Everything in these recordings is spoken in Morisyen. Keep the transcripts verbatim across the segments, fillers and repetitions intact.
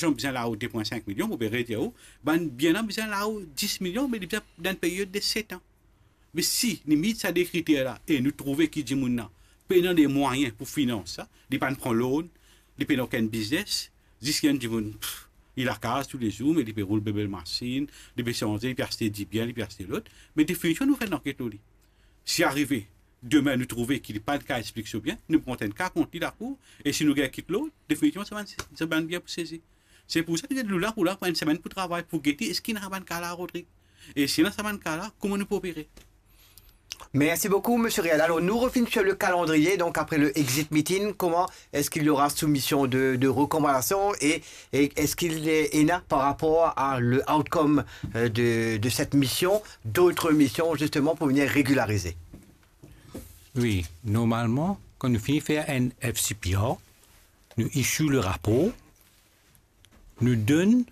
Larzan bizin lao de pwin sink milion, mo pe redir ou, bann bien la bizin lao dis milion, me li bizin dan enn period de set an. Me si nou met sa de kriter la e nou trouve ki dimoun la pena lemwayin pou finans sa, li pa'nn pran loan, li pena okenn biznes, zis enn dimoun, pff, li lakaz toulezour, me li pe roul bel masinn, li pe sanze, li pe aste dibien, li pe aste lot, me definitivman nou fer lanket lor li. Si arive, demin nou trouve ki li pa'nn kav explik so bien, nou pran enn ka kont li lakour, e si nou gagn kit loan, definitivman sa bann, sa bann bien pou sezi. Se pou sa ki nou la pou la, pou enn semenn pou travay, pou gete eski ena sa bann ka la, Rodrig. E si ena sa bann ka la, kouma nou pou opere? Merci beaucoup, Monsieur Real. Alors, nous revenons sur le calendrier. Donc, après le exit meeting, comment est-ce qu'il y aura soumission de, de recommandations et, et est-ce qu'il y en a par rapport à le outcome euh, de, de cette mission, d'autres missions, justement, pour venir régulariser? Wi, normalman, kan nou fini fer enn F C P R, nou issue le rapor, nou donn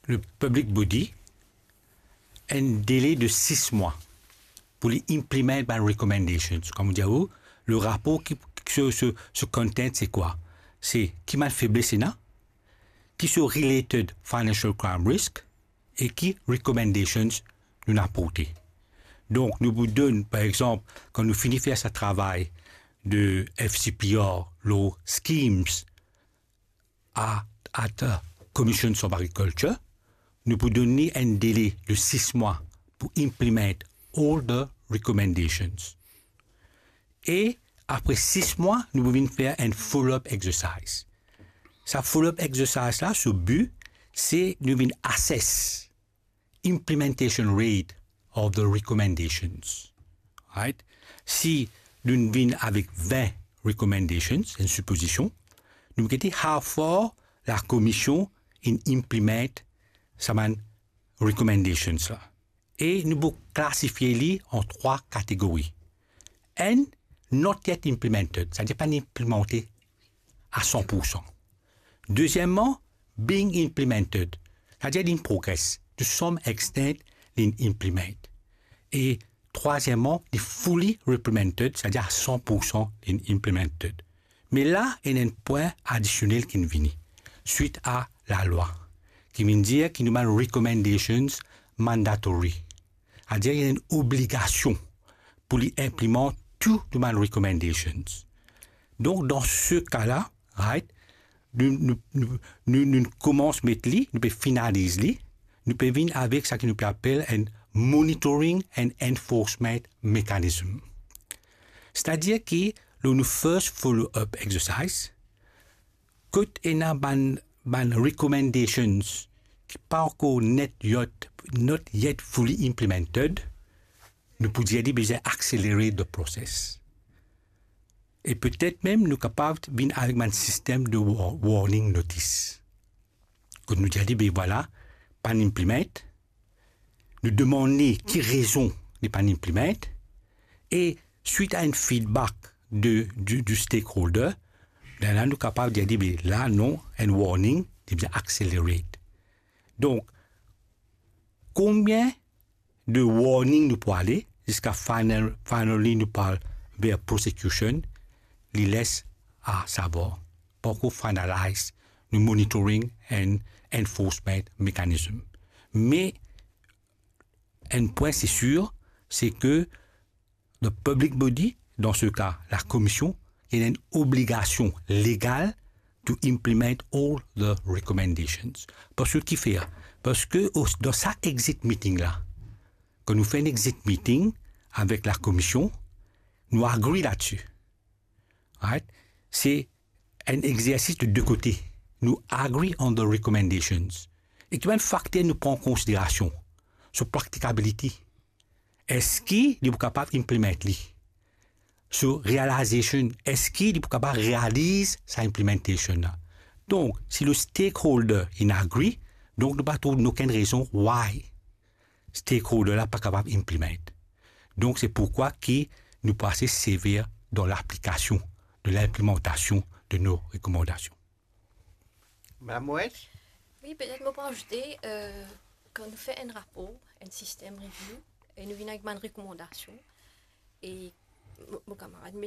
le public body enn dele de sis mwa pou li implement bann recommendations. Kouma dir ou, le rapor ki, so, so, so content se kwa? Se ki bann febles ena, ki so related financial crime risk, e ki recommendations nou aporte. Donk, nou pou donn, par exanp, kan nou fini fer sa travay de F C P R lor schemes at, at uh, Commissions of Agriculture, nou pou donn li enn dele de sis mwa pou implement all the recommendations. E apre sis mwa, nou pou vinn fer enn follow-up exercise. Sa follow-up exercise la, so bi, se nou vinn assess implementation rate of the recommendations. Right? Si nou vinn avek vin recommendations, enn sipozision, nou gete how far la Komision inn implement sa bann recommendations la. E nou pou klasifie li an trwa kategori. Enn, not yet implemented, savedir pa'nn inplimante a san pour san. Dezieman, being implemented, savedir li in progress, to some extent li in implement. E trwazieman, li fully implemented, savedir a san pour san li in implemented. Me la, ena enn pwin adisionel ki'nn vini, swit a lalwa, ki vinn dir ki nou bann recommendations mandatory. Savedir ena enn obligasion pou li inplimant tou nou bann recommendations. Donk, dan se ka la, right, nou, nou, nou, nou, nou koumans met li, nou pe finaliz li, nou pe vinn avek sa ki nou pe apel enn monitoring and enforcement mechanism. Savedir ki, lor nou first follow-up exercise, kot ena bann, bann recommendations ki pa ankor net yet, not yet fully implemented, nou pou dir li bizin accelerate the process. E petet mem nou kapav vinn avek bann sistem de wa-, warning notice. Kot nou dir li, be vwala, pa'nn implement, nou demann li ki rezon li pa'nn implement, e swit a enn feedback de, du, du stakeholder, lerla nou kapav dir li, be la, non, enn warning, li bizin accelerate. Donk, konbien de warning nou pou ale, ziska final, finally nou pou al ver prosecution, li les a savwar. Pa ankor finalize nou monitoring and enforcement mechanism. Me enn pwin se sir, se ke the public body, dan se ka la Komision, ena enn obligasion legal to implement all the recommendations. Parski kifer? Parski o, dan sa exit meeting la, kan nou fer enn exit meeting avek la Komision, nou agree ladsi. Right? Se enn exersis de de kote. Nou agree on the recommendations. E ki bann fakter nou pran an konsiderasion? So practicability. Eski li pou kapav implement li? So realization, eski li pou kapav realiz sa implementation la? Donk, si le stakeholder in agree, donk nou pa trouv okenn rezon why stakeholder la pa kapav implement. Donk, se pourkwa ki nou pou ase sever dan laplikasion de linplimantasion de nou rekomandasion. Madame Moët? Wi, petet mo pou azoute, euh, kan nou fer enn rapor, enn system review, e nou vinn avek bann rekomandasion, e mo, mo kamarad, me